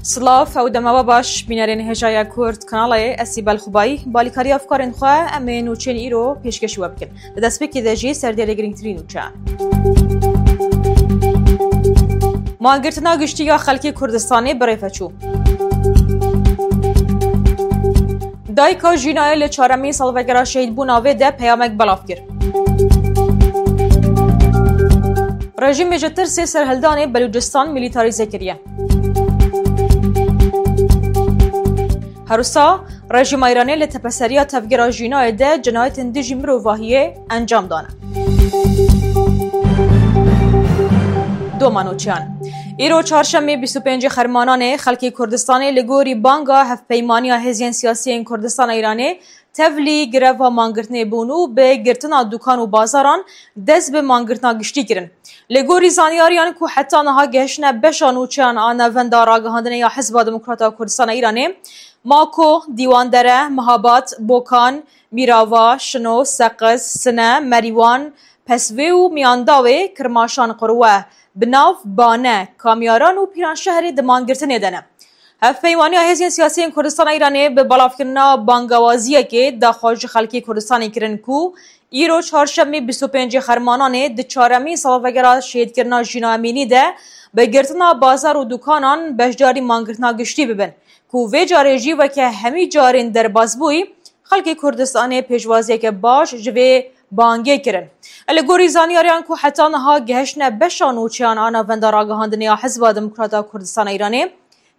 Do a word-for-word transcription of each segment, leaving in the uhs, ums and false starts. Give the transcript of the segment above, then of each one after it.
Silav, ew dema we baş, bînerên hêjaya Kurd kanalê, ez Sîbel Xubayî, balîkariya afkarên xwe em ê nûçeyên îro pêşkêşî we bikin. Di destpêkê de jî serdêrê girîngtirîn nûçe. Mangirtina giştî ya xelkê Kurdistanê bi rê ve çû. Dayika Jînayê li çaremîn salvegera şehîdbûna vê de peyamek belav kir. Rejîmê ji tirsê serhildanê Belûcistan milîtarîze kiriye. Herwisa, rejîma Îranê li tepeseriya tevgera Jînayê de cinayetên dijî mirovahiyê encam dane. Doma nûçeyan. Îro çarşemê bîst û pêncê Xermananê xelkê Kurdistanê li gorî banga Hevpeymaniya Hêzên Siyasî yên Kurdistana Îranê tevlî greva mangirtinê bûn û bi girtina dukan û bazaran dest bi mangirtina giştî kirin. Li gorî zanyariyan ku heta niha gehiştine beşa nûçeyan a Navenda Ragihandinê ya Hizba Demokrat a Kurdistana Îranê, Mako, Dîwandere, Mihabad, Bokan, Mîrava, Şino, Seqiz, Sine, Merîwan, Pesvê û Miyandawê, Kirmaşan, Qurwe, Binav, Bane, Kamyaran û Pîranşehrê di mangirtinê de ne. Hevpeymaniya Hêzên Siyasî yên Kurdistana Îranê bi belavkirina bangawaziyekê daxwaz ji xelkê Kurdistanê kirin ku îro çarşemê bîst û pêncê Xermananê di çaremîn salvegera şehîdkirina Jîna Emînî de bi girtina bazar û dukanan beşdarî mangirtina giştî bibin ku vê carê jî weke hemî carên derbasbûyî xelkê Kurdistanê pêşwaziyeke baş ji vê bangê kirin. Li gorî zanyariyan ku heta niha gehiştine beşa nûçeyan a Navenda Ragihandinê ya Hizba Demokrat a Kurdistana Îranê,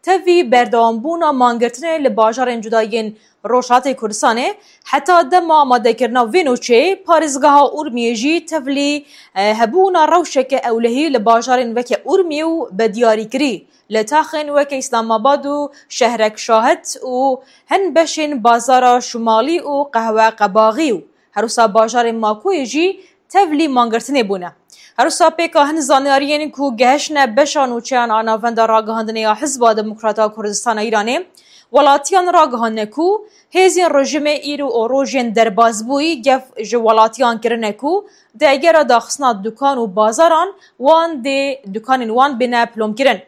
tevî berdewambûna mangirtinê li bajarên cuda yên Rojhilatê Kurdistanê, heta dema amadekirina vê nûçeyê, parêzgeha Urmiyê jî tevlî, e, hebûna rewşeke ewlehî li bajarên weke Urmiyê û bi diyarîkirî li taxên weke Îslamabad û Şehrek Şahid û hin beşên bazara Şumalî û Qehwe Qebaxî û herwisa bajarên Makoyê jî tevlî mangirtinê bûne. Herwisa pêka hin zanyariyên ku gehiştine beşa nûçeyan a Navenda Ragihandinê ya Hizba Demokrat a Kurdistana Îranê, welatiyan ragihandine ku hêzên rejîmê îro û rojên derbasbûyî gef ji welatiyan kirine ku di egera daxistina dukan û bazaran wan dê dukanên wan bêne pilomkirin.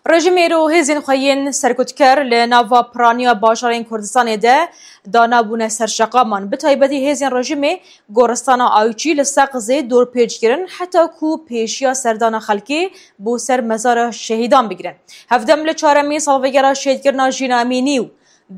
Rejîmê îro hêzên xwe yên serkutker li nava piraniya bajarên Kurdistanê de danabûne ser şeqaman. Bi taybetî hêzên rejîmê goristana Ayçî li Seqizê dorpêç kirin, heta ku pêşiya serdana xelkê bo ser mezara şehîdan bigirin. Hevdem li çaremîn salvegera şehîdkirina Jîna Emînî û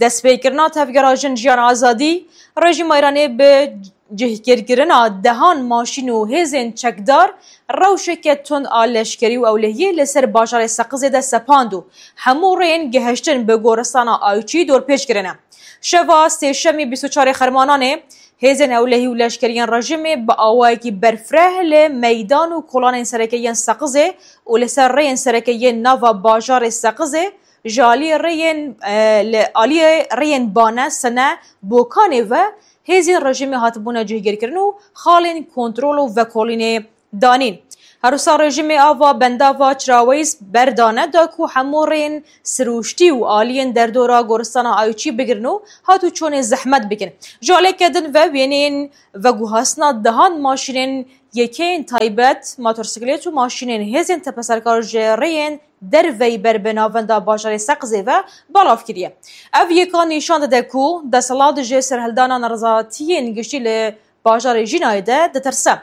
destpêkirina tevgera Jin Jiyan Azadî, rejîma Îranê bi cihgirkirina dehan maşîn û hêzên çekdar rewşeke tund a leşkerî û ewlehiyê li ser bajarê Seqizê de sepand û hemû rêyên gihiştin bi goristana Ayçî dorpêç kirine. Şeva sêşemî bîst û çarê Xermananê hêzên ewlehî û leşkeriyên rejîmê bi awayekî berfireh li meydan û kolanên sereke yên Seqizê û li ser rêyên sereke yên nava bajarê Seqizê ji aliyê rêyên, e, li aliyê rêyên Bane, Sene, Bokanê ve hêzên rejîmê hatibûne cihgirkirin û xalên kontrol û vekolînê danîn. Herwisa rejîmê ava bendava Çiraweyîs berdane da ku hemû rêyên sirûştî û aliyên derdora goristana Ayçî bigirin û hat û çonê zehmet bikin. Ji aliyeke din ve wêneyên veguhastina dehan maşînên yekeyên taybet, motorsîklêt û maşînên hêzên tepeserkar ji rêyên derveyî ber bi navenda bajarê Seqizê ve belav kiriye. Ev yeka nîşan dide ku desthilat ji serhildana nerizatiyên giştî li bajarê Jînayê de ditirse.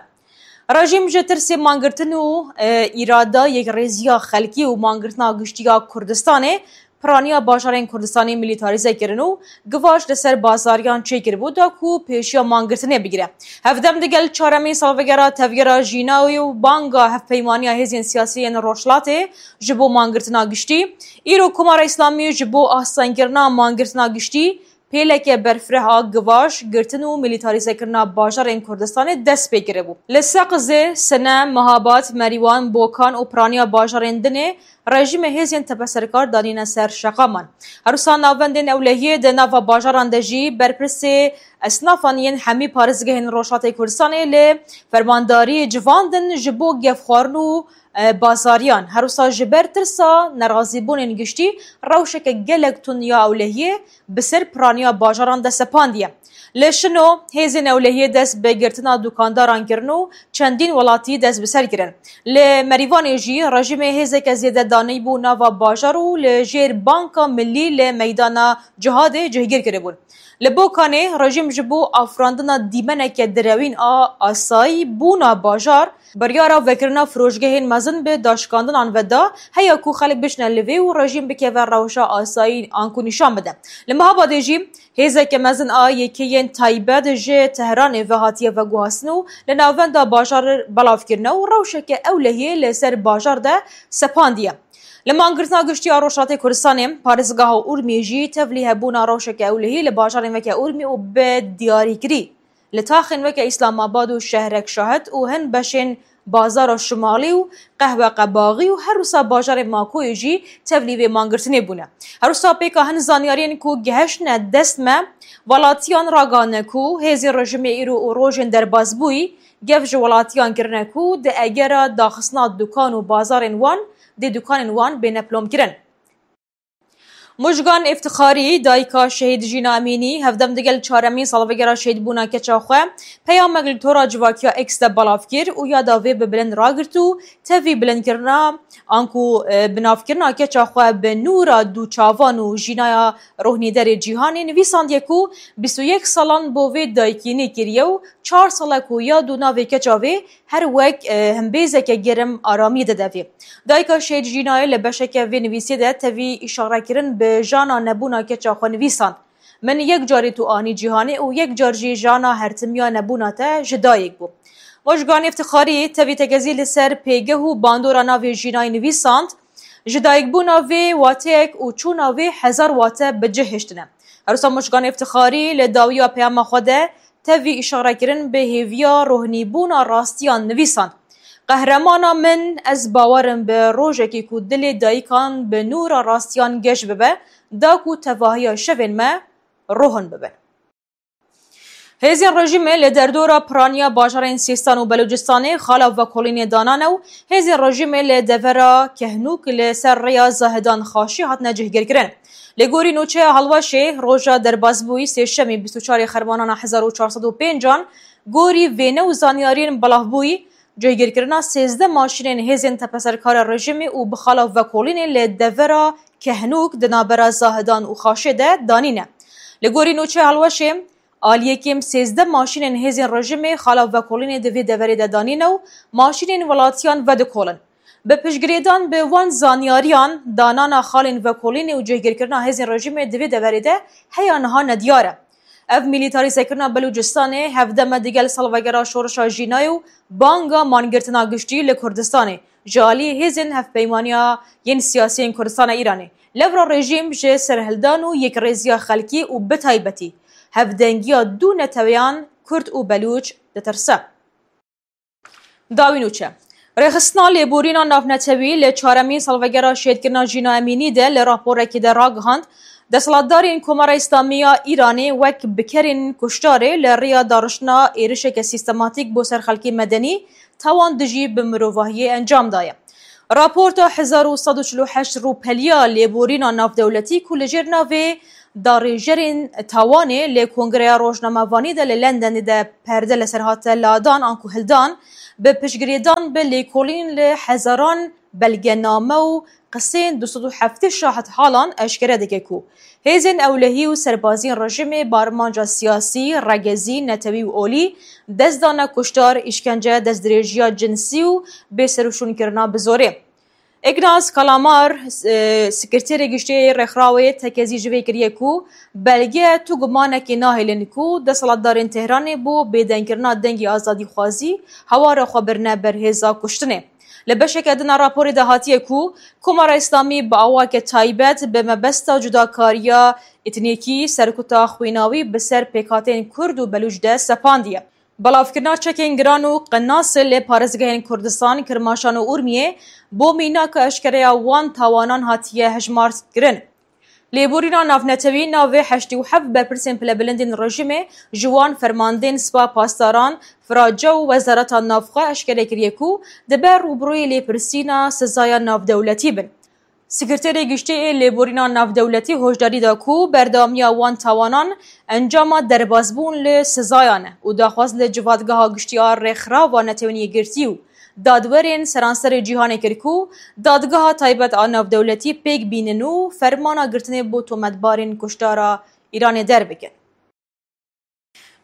Rejîm ji tirsê mangirtin û, e, îrada yekrêziya xelkî û mangirtina giştî ya Kurdistanê piraniya bajarên Kurdistanê milîtarîze kirin û givaş li ser bazariyan çêkiribû da ku pêşiya mangirtinê bigire. Hevdem digel çaremîn salvegera tevgera Jînayê û banga hevpeymaniya hêzên siyasî yên Rojhilatê ji bo mangirtina giştî, îro Komara Îslamî ji bo astengkirina mangirtina giştî pêleke berfireh a givaş, girtin û milîtarîzekirina bajarên Kurdistanê dest pê kiribû. Li Seqizê, Sine, Mehabad, Merîwan, Bokan û piraniya bajarên dinê rejîmê hêzên tepeserkar danîne ser şeqaman. Herwisa navendên ewlehiyê di nava bajaran de jî berpirsê esnafan yên hemî parêzgehên Rojhilatê Kurdistanê li fermandariyê civandin ji bo gefxwarin û e, bazariyan. Her wisa ji ber tirsa nerazîbûnên giştî rewşeke gelek tund ya ewlehiyê bi ser piraniya bajaran de sepandiye. Li Şino hêzên ewlehiyê dest bi girtina dukandaran kirin û çendîn welatî dest bi ser kirin. Li Merîvanê jî rejîmê hêzeke zêde danî bû nava bajar û li jêr Banka Milî li meydana Cihadê cihgîr kiribûn. Li Bokanê rejîm ji bo afirandina dîmeneke direwîn a asayî bûna bajar, biryara vekirina firoşgehên mezin bi daşkandinan ve da, heya ku xelk bişine li vê û rejîm bikeve rewşa asayî anku nîşan bide. Li Mehabadê jî hêzeke mezin a yekeyên taybet ji Tehranê ve hatiye veguhastin û li navenda bajar belav kirine û rewşeke ewlehiyê li ser bajar de sepandiye. Li mangirtina giştî ya Rojhilatê Kurdistanê, parêzgeha Urmiyê jî tevlî hebûna rewşeke ewlehî li bajarên weke Urmiyê û bi diyarîkirî li taxên weke Îslamabad û Şehrek Şahid û hin beşên bazara Şimalî û Qehweqebaxî û her wisa bajarê Makoyê jî tevlî vê mangirtinê bûne. Her wisa pêka hin zanyariyên ku gihiştine dest me, welatiyan ragihane ku hêzên rejîmê îro û rojên derbasbûyî gev ji welatiyan kirine ku di egera daxistina dukan û bazarên wan dê dukanên wan bêne pilomkirin. Mujgan Îftixarî, dayika şehîd Jîna Emînî, hevdem digel çaremîn salvegera şehîdbûna keça xwe, peyamek li tora civakiya X de belav kir û yada vê bi bilind ragirt û tevî bilindkirina anku, e, binavkirina keça xwe bi nûra dû çavan û jînaya rohnîderê cîhanê nivîsandiye ku bîst û yek salan bo vê dayikî nî kiriye û çar sal e ku yad û navê keça vê her wek, e, himbêzeke germ aramiyê dide vê. Dayika şehîd Jînayê li beşeke vê nivîsê de tevî îşarekirin bi jana nebûna keça xwe nivîsand. Min yek carî tu anî cîhanê û yek car jî jana hertimiya nebûna te ji dayik bû. Mojgan Îftixarî tevî tekezî li ser pêgeh û bandora navê Jînayê nivîsand, ji dayikbûna vê wateyek û çûna vê hezar wate bi cih hiştine. Her wisa Mojgan Îftixarî li dawiya peyama xwe de tevî îşarekirin bi hêviya rohnîbûna rastiyan nivîsand. Qehremana min, ez bawer im bi rojekê ku dilê dayikan bi nûra rastiyan geş bibe, da ku tevahiya şevên me rohin bibin. Hêzên rejîmê li derdora piraniya bajarên Sîstan û Belûcistanê xala vekolînê danane û hêzên rejîmê li devera Kehnûk li ser rêya Zahidan Xaşî hatine cihgirkirin. Li gorî nûçeya Helwaşê, roja derbasbûyî sêşemî bîst û çarê Xermanana hezar û çar sed û pênc an, gorî vêne û zanyariyên belavbûyî, cihgirkirina sêzdeh maşînên hêzên tepeserkara rejîmê û bi xala vekolînê li devera Kehnûk di navbera Zahidan û Xaşê de danîne. Li gorî nûçeya Helwaşê, aliyekêm sêzdeh maşînên hêzên rejîmê xala vekolînê di vê deverê de danîne û maşînên welatiyan vedikolin. Bi piştgirêdan bi wan zanyariyan, danana xalên vekolînê û cihgirkirina hêzên rejîmê di vê deverê de heya niha nediyar e. Ev mîlîtarîzekirina Belûcistanê hevdem e digel salvegera şoreşa Jînayê û banga mangirtina giştî li Kurdistanê ji alî hêzên Hevpeymaniya yên Siyasî yên Kurdistana Îranê. Lewra rejîm ji serhildan û yekrêziya xelkî û bi taybetî hevdengiya du neteweyan Kurd û Belûç ditirse. Dawî nûçe. Rêxistina lêborîna navnetewî li çaremîn salvegera şehîdkirina Jîna Emînî de li raporekî de ragihand, desthilatdarên Komara Îslamî ya Îranê wek bikerên kuştarê li riya dariştina êrişeke sîstematîk bo ser xelkê medenî, tawan dijî bi mirovahiyê encam daye. Raporta hezar û sed û çil û heşt rûpeliya lêborîna navdewletî ku li jêr navê Darêjerên Tawanê li Kongreya Rojnamevanî de li Lendenê de perde li ser hate ladan anku hildan, bi piştgirêdan bi lêkolîn li hezaran belgename û qisên du sed û heftê şahidhalan eşkere dike ku hêzên ewlehî û serbaziyên rejîmê bi armanca siyasî, regezî, netewî û olî dest dane kuştar, îşkence, destdirêjiya cinsî û bêserûşûnkirina bi zorê. Ignaz Kalamar, e, sekreterê giştî yê Rêkxrawê tekezî ji vê kiriye ku belge tu gumanekê nahêlin ku desthilatdarên Tehranê bo bêdengkirina dengê azadîxwazî hewara xwe birine ber hêza kuştinê. Li beşeke din a raporê de hatiye ku Komara Îslamî bi awake taybet bi mebesta cudakariya etnîkî serkuta xwînawî bi ser pêkhateyên Kurd û Belûç de sepandiye. Belavkirina çekên giran û qinasê li parêzgehên Kurdistan, Kirmaşan û Urmiyê bo mînaka eşkereya wan tawanan hatiye hejmarkirin. Lêborîna navnetewî navê heştê û heft berpirsên pilebilindên rejîmê ji wan fermandên Spa Pasdaran, Firace û Wezareta Navxwe eşkere kiriye ku dibe rûbirûyê lêpirsîna sizaya navdewletî bin. Sekreterê Giştî ê Lêborîna Navdewletî hoşdarî da ku berdewamiya wan tawanan encama derbasbûn li sizayan e û daxwaz li Civadgeha Giştî a Rêxrava Netewên Yekgirtî û dadwerên seranserê cîhanê kir ku dadgeha taybet a navdewletî pêk bînin û fermana girtinê bo tometbarên kuşdara Îranê derbikin.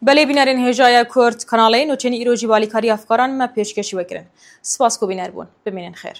Belê bînerên hêjaya Kurd kanalê, nûçeyên îro jî bi alîkariya hevkaran me pêşkêşî we kirin. Spas ku bîner bûn. Bimînin xêr.